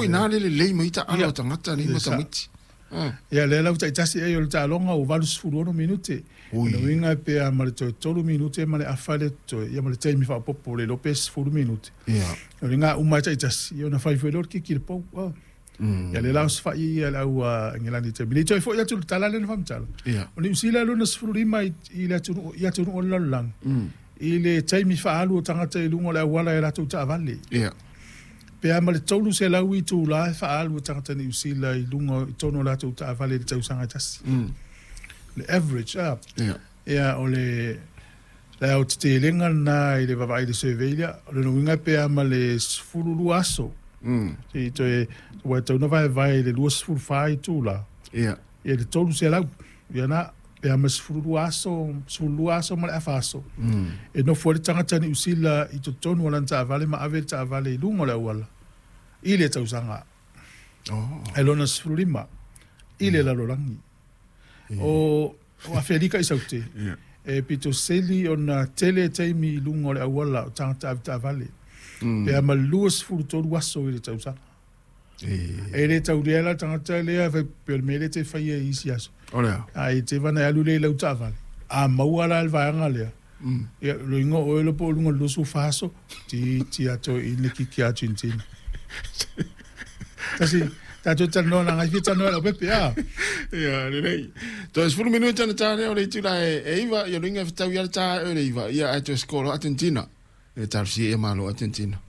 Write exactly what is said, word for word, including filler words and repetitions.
Po i nā le lelei mai taalo a tagata nei ma tamaiti. Ia lea la ua taitasi ai o le taaloga ua valusefulu ono minute. O le uiga pe a ma le toe tolu minute ma le afa le totoe, ia ma le taimi faaopoopo le iloa pe sefulu minute. O le ga uma ai taitasi, ia ona fai foi lea o le kiki i le pou. Ia lea la osofai ia le au Engelani i le taimi nei. Toe foi atu i le tala lea na faamatala, o Niu Sila e lona sefulu lima i le atunuu i atunuu o le lalolagi i le taimi faaalu o tagata i luga o le auala e latou taavale. Pe a ma le tolu selau itula e faaalu e tagata Niu Sila i luga i totonu o latou taavale i le tausaga e tasi. Le average, a. Ia, o le le aotetelega lena i le vaavaai i le survey lea. O lona uiga pe a ma le sefulu lua aso. Se i toe, ua e tatau ona vaevae i le luasefulu fa itula. Ia le tolu selau. Ia na, pe a ma le sefulu lua aso, sefulu lua aso ma le afa aso. E nofo ai le tagata Niu Sila i totonu o lana taavale ma ave le taavale i luga o le auala i le tausaga. Ae lona sefulu lima i le lalolagi. O, o Afelika i Saute, e pito sili ona tele taimi i luga o le auala o tagata avetaavale. Pe a ma le luasefulu tolu aso i le tausaga. E le taulia la le tagata lea e fai pei o le mea lea e te faia i isi aso. O le a? A i te vana e alu lea i lau taavale, a maua la le vaega lea, ia, loiga o oe loa po o luga o le luasefulu fa aso, titi atu i le kiki a Argentina. Tasi, tatou talanoa na ngai fia talanoa i lau pepe, a? Ia, lelei. Toe sefulu minute ona ta lea o le itula e, e iva, ia loiga e fetau ia le ta e le iva, ia ae toe score Argentina. E talosia ia malo Argentina.